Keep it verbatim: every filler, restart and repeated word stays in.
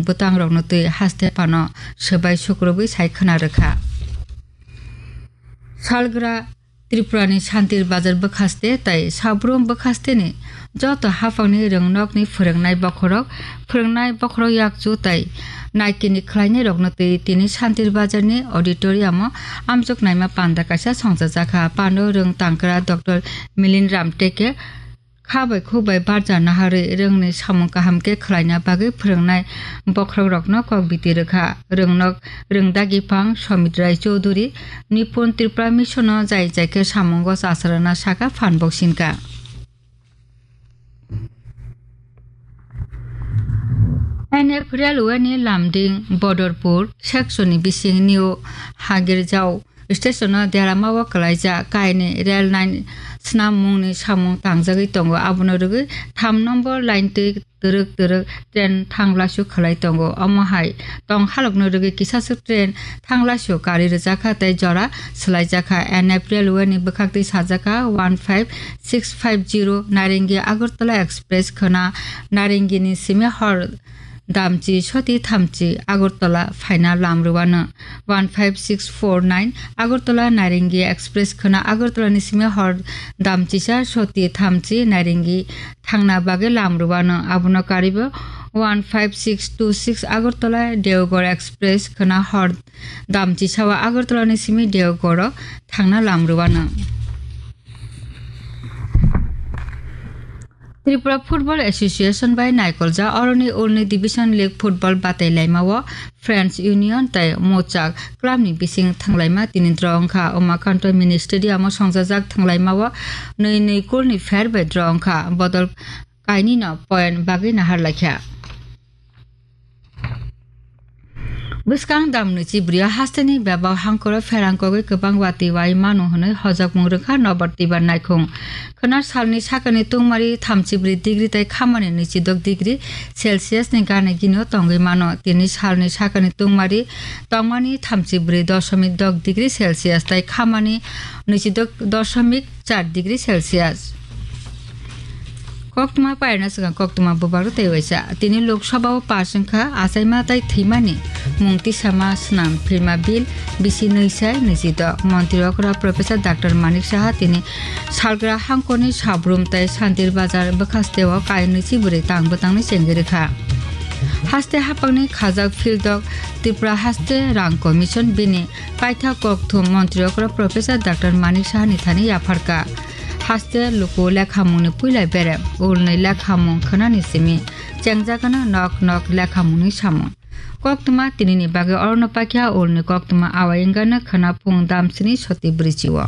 bwtangrokno twi haste phano swbai sukrubwi sai khwna rwkha. Salgra Tripurani Santir Bazar bwkhaste tai Sabrum bwkhasteni joto haphangni rwngnokni phwrwngnai bokhorok, phwrwngnai bokhorok yakchu tai naikini khlainairokno twi tini Santir Bazarni auditoriumo amjok naima panda kaisa songchajakha. Pando rwng tangkra Doctor Milind Ramteke kha bai khuk bai barja naharwi rwngni samung kaham khe khwlaina bagwi phwrwngnai bokhorokrokno kok biti rwkha. Rwngnok rwngdagi phang Somit Rai Chowdhury, Nipun Tripura Mission-o jai jai khe samungo chacharana saka phan boksinka. N F Railway ni Lumding Bodorpur section ni bising New Hagirjao station o derama o kwlaijak kainwi rail line snam mungni samung tangjagwi tongo. Abono rwgwi tham number line twi twrwk twrwk train thanglasu khwlai tongo. Omo hai tong halokno rwgwi kisaswk train thanglasu kari rwjakha tei jora swlaijakha. N F Railway ni bwkhaktwi sajakha one five six five zero Narengi Agartala Express khwna Narengini simi hor damchi soti thamchi Agartala phaina lam rwano. One five six four nine Agartala Narengi Express khwna Agartala ni simi hor damchisa soti thamchi Narengi thangna bagwi lam rwano. Abono karibo one five six two six Agartala Deoghar Express khwna hor damchisa o Agartala ni simi Deoghar o thangna lam rwano. Tripura Football Association bai naikoljak oroni ulni Division League football batai laima o Friends Union tei Mochak club ni bising thanglaima tini draw wngkha. Umakanto Mini Stadium o songjajak thanglaima o nwi nwi goal ni fair bai draw wngkha. Bodol kainwi no point bagwi nahar laikha. Bwskang dam nwichi bwrwi o hasteni bebak hangkoro pherang kogwi kwbang watwi wai mano hwnwi hojakmung rwkha Nobar Tibar naikhung. Khwnar salni sakani tungmari thamchi bwrwi degree tei khamani nwichi dok degree Celsius ni gana gini o tongwi mano. Tini salni sakani tungmari tongmani thamchi bwrwi doshomik dok degree Celsius tei khamani nwichi dok doshomik char degree Celsius. Koktwma pairna swkang koktwma bubagrwi tei waisa. Tini Lok Sabha o pass wngkha achaima tei thwimani mung tisama swnam phirma bill bisi nwi sai nwi jidok. Montri okra Professor Doctor Manik Saha tini salgra hangkorni Sabrum tei Santir Bazar bwkhasteo kainwi chibrwi tang bwtangni chengwi rwkha. Haste haphangni khajak fieldok Tripura Haste Rang Commission bini kaitha kokthum Montri okra Professor Doctor Manik Sahani thani yapharkha. Haste luku lekhamungni puila berem, ulni lekhamung khwnani simi chengjagano nok nok lekhamungni samung. Koktwma tinini bagwi orono pakya ulni koktwma awai wngano khwna phung damsini soti bwrwichio.